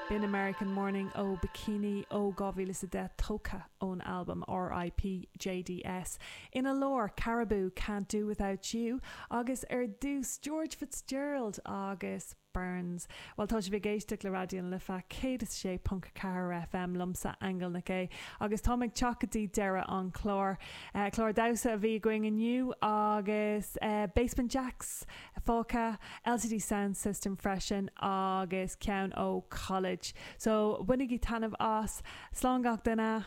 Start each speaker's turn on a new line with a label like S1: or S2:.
S1: B'in American Morning ó Bikini ó 2010 tógtha ón albam RIP JDS. Ina lár, Caribou, Can't Do Without You agus ar dtús George Fitzgerald agus Burns. Bhuel, tá sibh ag éisteacht le Raidió na Life 106.4 FM, liomsa, Aingeal Nic Aodha, agus táim ag teacht go dtí deireadh an chláir. Clár damhsa a bhí againn inniu agus Basement Jaxx fágtha, LCD Soundsystem freisin agus ceann ó College. So, bainigí taitneamh as. Slán gach duine!